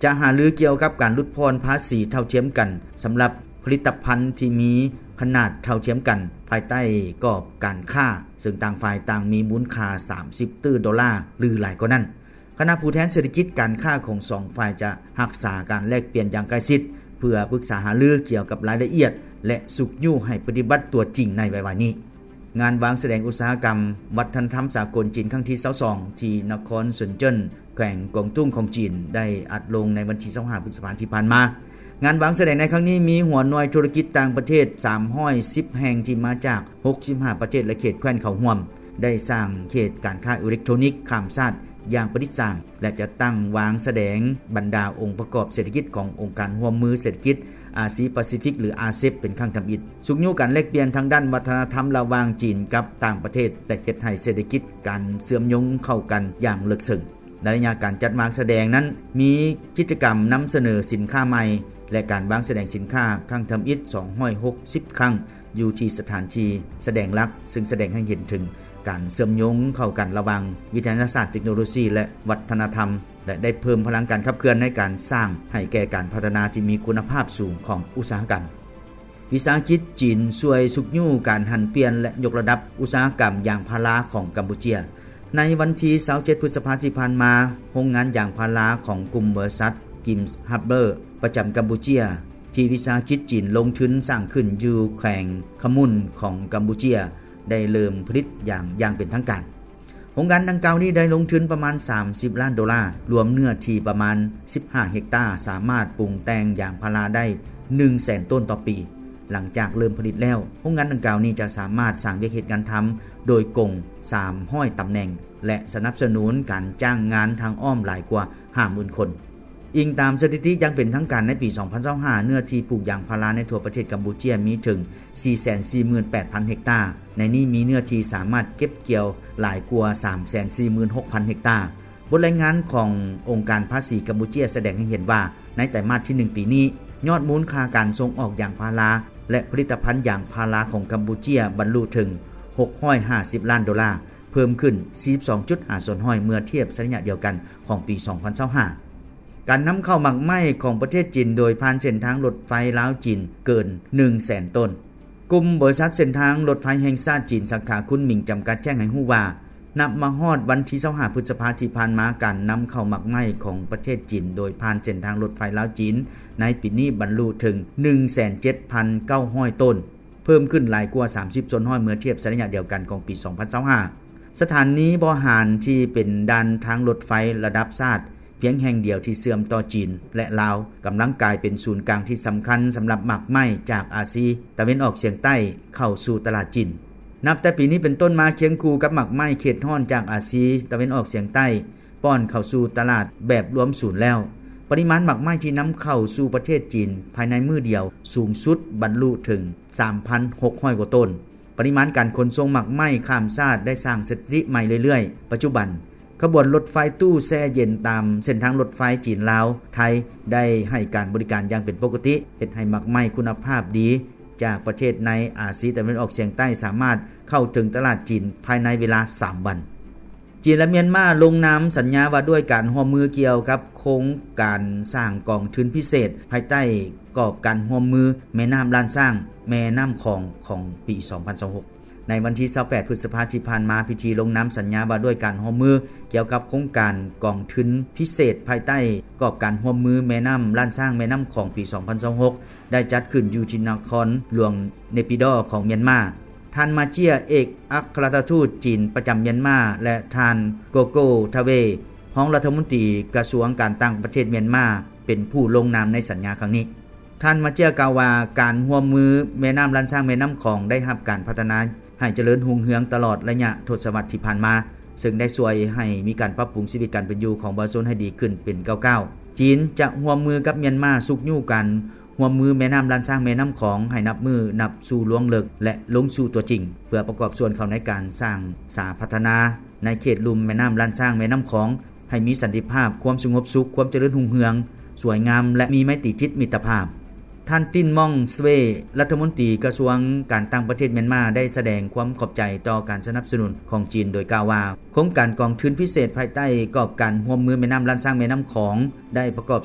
ຈະຫາລືກ່ຽວກັບການຫຼຸດຜ່ອນພາສີເທົ່າທຽມກັນ ສຳລັບຜະລິດຕະພັນທີ່ມີຂະໜາດເທົ່າທຽມກັນ ພາຍໃຕ້ກອບການຄ້າ ເຊິ່ງຕ່າງຝ່າຍຕ່າງມີມູນຄ່າສາມສິບຕື້ໂດລາ ຫຼື ຫຼາຍກວ່ານັ້ນ. ຄະນະຜູ້ແທນເສດຖະກິດການຄ້າຂອງສອງຝ່າຍຈະຮັກສາການແລກປ່ຽນຢ່າງໃກ້ຊິດ ເພື່ອປຶກສາຫາລືກ່ຽວກັບລາຍລະອຽດ ແລະ ຊຸກຍູ້ໃຫ້ປະຕິບັດຕົວຈິງໃນໄວໆນີ້. ງານວາງສະແດງອຸດສາຫະກຳວັດທະນະທຳສາກົນຈີນຄັ້ງທີຊາວສອງ ທີ່ນະຄອນເຊິນເຈິນ ແຂວງກວາງຕຸ້ງຂອງຈີນ ໄດ້ອັດລົງໃນວັນທີຊາວຫ້າ ພຶດສະພາທີ່ຜ່ານມາ. ງານວາງສະແດງໃນຄັ້ງນີ້ມີຫົວໜ່ວຍທຸລະກິດຕ່າງປະເທດສາມຮ້ອຍສິບແຫ່ງ ທີ່ມາຈາກຫົກສິບຫ້າປະເທດ ແລະ ເຂດແຄວ້ນເຂົ້າຮ່ວມ, ໄດ້ສ້າງເຂດການຄ້າອີເລັກໂທຣນິກຂ້າມຊາດຢ່າງປະດິດສ້າງ ແລະ ຈະຕັ້ງວາງສະແດງບັນດາອົງປະກອບເສດຖະກິດຂອງອົງການຮ່ວມມືເສດຖະກິດອາຊີປາຊີຟິກ ຫຼື ອາເຊັບ ເປັນຄັ້ງທຳອິດ, ຊຸກຍູ້ການແລກປ່ຽນທາງດ້ານວັດທະນະທຳລະຫວ່າງຈີນກັບຕ່າງປະເທດ ແລະ ເຮັດໃຫ້ເສດຖະກິດການເຊື່ອມໂຍງເຂົ້າກັນຢ່າງເລິກເຊິ່ງ. ໃນໄລຍະການຈັດວາງສະແດງນັ້ນ ມີກິດຈະກຳນຳສະເໜີສິນຄ້າໃໝ່ ແລະ ການວາງສະແດງສິນຄ້າຄັ້ງທຳອິດສອງຮ້ອຍຫົກສິບຄັ້ງ ຢູ່ທີ່ສະຖານທີ່ສະແດງຫຼັກ, ເຊິ່ງສະແດງໃຫ້ເຫັນເຖິງການເຊື່ອມໂຍງເຂົ້າກັນລະຫວ່າງວິທະຍາສາດ, ເຕັກໂນໂລຊີ ແລະ ວັດທະນະທຳ ແລະ ໄດ້ເພີ່ມພະລັງການຂັບເຄື່ອນໃນການສ້າງໃຫ້ແກ່ການພັດທະນາທີ່ມີຄຸນນະພາບສູງຂອງອຸດສາຫະກຳ. ວິສາຫະກິດຈີນຊ່ວຍຊຸກຍູ້ການຫັນປ່ຽນ ແລະ ຍົກລະດັບອຸດສາຫະກຳຢາງພາລາຂອງກຳປູເຈຍ. ໃນວັນທີຊາວເຈັດ ພຶດສະພາທີ່ຜ່ານມາ, ໂຮງງານຢາງພາລາຂອງກຸ່ມບໍລິສັດ Gims Harbor ປະຈຳກຳປູເຈຍ ທີ່ວິສາຫະກິດຈີນລົງທຶນສ້າງຂຶ້ນຢູ່ແຂວງຂະມຸນຂອງກຳປູເຈຍ ໄດ້ເລີ່ມຜະລິດຢາງຢ່າງເປັນທາງການ. ໂຮງງານດັ່ງກ່າວນີ້ໄດ້ລົງທຶນປະມານສາມສິບລ້ານໂດລາ, ລວມເນື້ອທີ່ປະມານສິບຫ້າເຮັກຕາ, ສາມາດປຸງແຕ່ງຢາງພາລາໄດ້ໜຶ່ງແສນຕົ້ນຕໍ່ປີ. ຫຼັງຈາກເລີ່ມຜະລິດແລ້ວ, ໂຮງງານດັ່ງກ່າວນີ້ຈະສາມາດສ້າງວຽກເຮັດງານທຳໂດຍກົງສາມຮ້ອຍຕຳແໜ່ງ ແລະ ສະໜັບສະໜູນການຈ້າງງານທາງອ້ອມຫຼາຍກວ່າຫ້າໝື່ນຄົນ. ອີງຕາມສະຖິຕິຢ່າງເປັນທາງການ, ໃນປີສອງພັນຊາວຫ້າ ເນື້ອທີ່ປູກຢາງພາລາໃນທົ່ວປະເທດກຳປູເຈຍມີເຖິງສີ່ແສນສີ່ໝື່ນແປດພັນເຮັກຕາ, ໃນນີ້ມີເນື້ອທີ່ສາມາດເກັບກ່ຽວຫຼາຍກວ່າສາມແສນສີ່ໝື່ນຫົກພັນເຮັກຕາ. ບົດລາຍງານຂອງອົງການພາສີກຳປູເຈຍສະແດງໃຫ້ເຫັນວ່າ ໃນໄຕມາດທີໜຶ່ງປີນີ້, ຍອດມູນຄ່າການສົ່ງອອກຢາງພາລາ ແລະ ຜະລິດຕະພັນຢາງພາລາຂອງກຳປູເຈຍບັນລຸເຖິງຫົກຮ້ອຍຫ້າສິບລ້ານໂດລາ, ເພີ່ມຂຶ້ນສີ່ສິບສອງຈຸດຫ້າສ່ວນຮ້ອຍເມື່ອທຽບໃສ່ໄລຍະດຽວກັນຂອງປີສອງພັນຊາວຫ້າ. ການນຳເຂົ້າໝາກໄມ້ຂອງປະເທດຈີນໂດຍຜ່ານເສັ້ນທາງລົດໄຟລາວ-ຈີນເກີນໜຶ່ງແສນຕົ້ນ. ກຸ່ມບໍລິສັດເສັ້ນທາງລົດໄຟແຫ່ງຊາດຈີນ ສາຂາຄຸນໝິງ ຈຳກັດ ແຈ້ງໃຫ້ຮູ້ວ່າ ນັບມາຮອດວັນທີຊາວຫ້າ ພຶດສະພາທີ່ຜ່ານມາ, ການນຳເຂົ້າໝາກໄມ້ຂອງປະເທດຈີນໂດຍຜ່ານເສັ້ນທາງລົດໄຟລາວ-ຈີນໃນປີນີ້ບັນລຸເຖິງໜຶ່ງແສນເຈັດພັນເກົ້າຮ້ອຍໂຕນ, ເພີ່ມຂຶ້ນຫຼາຍກວ່າສາມສິບສ່ວນຮ້ອຍເມື່ອທຽບໃສ່ໄລຍະດຽວກັນຂອງປີສອງພັນຊາວຫ້າ. ສະຖານນີບໍ່ຫານທີ່ເປັນດ່ານທາງລົດໄຟລະດັບຊາດພຽງແຫ່ງດຽວທີ່ເຊື່ອມຕໍ່ຈີນ ແລະ ລາວ ກຳລັງກາຍເປັນສູນກາງທີ່ສຳຄັນສຳລັບໝາກໄມ້ຈາກອາຊີຕາເວັນອອກສຽງໃຕ້ເຂົ້າສູ່ຕະຫຼາດຈີນ. ນັບແຕ່ປີນີ້ເປັນຕົ້ນມາ, ຄຽງຄູ່ກັບໝາກໄມ້ເຂດຮ້ອນຈາກອາຊີຕາເວັນອອກສຽງໃຕ້ ປ້ອນເຂົ້າສູ່ຕະຫຼາດແບບລວມສູນແລ້ວ, ປະລິມານໝາກໄມ້ທີ່ນຳເຂົ້າສູ່ປະເທດຈີນພາຍໃນມື້ດຽວສູງສຸດບັນລຸເຖິງສາມພັນຫົກຮ້ອຍກວ່າໂຕນ. ປະລິມານການຂົນສົ່ງໝາກໄມ້ຂ້າມຊາດໄດ້ສ້າງສະຖິຕິໃໝ່ເລື້ອຍໆ. ປັດຈຸບັນ, ຂະບວນລົດໄຟຕູ້ແຊ່ເຢັນຕາມເສັ້ນທາງລົດໄຟຈີນ-ລາວ-ໄທ ໄດ້ໃຫ້ການບໍລິການຢ່າງເປັນປົກກະຕິ, ເຮັດໃຫ້ໝາກໄມ້ຄຸນນະພາບດີຈາກປະເທດໃນອາຊີຕາເວັນອອກສຽງໃຕ້ສາມາດເຂົ້າເຖິງຕະຫຼາດຈີນພາຍໃນເວລາສາມວັນ. ຈີນ ແລະ ມຽນມາລົງນາມສັນຍາວ່າດ້ວຍການຮ່ວມມືກ່ຽວກັບໂຄງການສ້າງກອງທຶນພິເສດພາຍໃຕ້ກອບການຮ່ວມມືແມ່ນ້ຳລ້ານຊ້າງ ແມ່ນ້ຳຂອງ ຂອງປີສອງພັນຊາວຫົກ. ໃນວັນທີຊາວແປດ ພຶດສະພາທີ່ຜ່ານມາ, ພິທີລົງນາມສັນຍາວ່າດ້ວຍການຮ່ວມມືກ່ຽວກັບໂຄງການກອງທຶນພິເສດພາຍໃຕ້ກອບການຮ່ວມມືແມ່ນ້ຳລ້ານຊ້າງ ແມ່ນ້ຳຂອງ ປີສອງພັນຊາວຫົກ ໄດ້ຈັດຂຶ້ນຢູ່ທີ່ນະຄອນຫຼວງເນປິດໍຂອງມຽນມາ. ທ່ານ ມາເຈຍ ເອກອັກຄະລັດຖະທູດຈີນປະຈຳມຽນມາ ແລະ ທ່ານ ໂກໂກ ທາເວ ຮອງລັດຖະມົນຕີກະຊວງການຕ່າງປະເທດມຽນມາ ເປັນຜູ້ລົງນາມໃນສັນຍາຄັ້ງນີ້. ທ່ານ ມາເຈຍ ກ່າວວ່າ ການຮ່ວມມືແມ່ນ້ຳລ້ານຊ້າງ ແມ່ນ້ຳຂອງ ໄດ້ຮັບການພັດທະນາໃຫ້ຈະເລີນຮຸ່ງເຮືອງຕະຫຼອດໄລຍະທົດສະວັດທີ່ຜ່ານມາ, ເຊິ່ງໄດ້ຊ່ວຍໃຫ້ມີການປັບປຸງຊີວິດການເປັນຢູ່ຂອງປະຊາຊົນໃຫ້ດີຂຶ້ນເປັນກ້າວໆ. ຈີນຈະຮ່ວມມືກັບມຽນມາຊຸກຍູ້ການ ຮ່ວມມືແມ່ນ້ຳລ້ານຊ້າງ ແມ່ນ້ຳຂອງ ໃຫ້ນັບມື້ນັບສູ່ລວງເລິກ ແລະ ລົງສູ່ຕົວຈິງ ເພື່ອປະກອບສ່ວນເຂົ້າໃນການສ້າງສາພັດທະນາໃນເຂດລຸ່ມແມ່ນ້ຳລ້ານຊ້າງ ແມ່ນ້ຳຂອງ ໃຫ້ມີສັນຕິພາບ, ຄວາມສະຫງົບສຸກ, ຄວາມຈະເລີນຮຸ່ງເຮືອງ, ສວຍງາມ ແລະ ມີໄມຕີຈິດມິດຕະພາບ. ທ່ານ ຕິນ ມອງສເວ ລັດຖະມົນຕີກະຊວງການຕ່າງປະເທດມຽນມາ ໄດ້ສະແດງຄວາມຂອບໃຈຕໍ່ການສະໜັບສະໜູນຂອງຈີນ ໂດຍກ່າວວ່າ ໂຄງການກອງທຶນພິເສດພາຍໃຕ້ກອບການຮ່ວມມືແມ່ນ້ຳລ້ານຊ້າງ ແມ່ນ້ຳຂອງ ໄດ້ປະກອບ